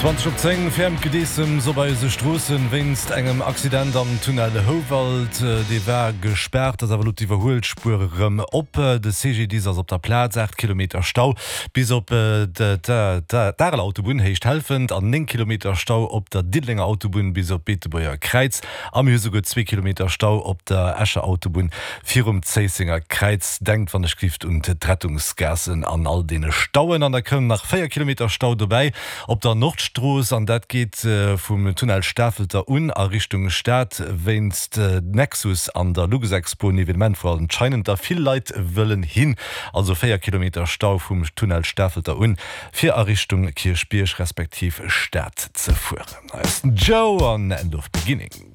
20 op 10, Fermt Gedeessems op eise Stroossen wéinst engem Accident am Tunnel Houwald. Dee war gespaart, ass awer elo d'Iwwerhuelspuer erëm op. De CGDIS ass op der Plaz. 8 Kilometer Stau bis op d'Areler Autobunn, Héicht Helfent, an 9 Kilometer Stau op der Diddelenger Autobunn bis op d'Beetebuerger Kräiz. A mir hu souguer zwee Kilometer Stau op der Escher Autobunn virum Zéissenger Kräiz. Denkt wann ech glift un d'Rettungsgaassen an all deene Stauen. An da kënnen nach 4 Kilometer Stau dobäi op der Nordstrooss an dat geet vum Tunnel Stafelter un a Richtung Stad wéinst Nexus an der Luxexpo, en Evenement wou anscheinend da vill Leit wëllen hin. Also 4 Kilometer Stau vum Tunnel Stafelter un fir a Richtung Kierchbierg respektiv Stad ze fueren. Hei ass den Joe an End of Beginning.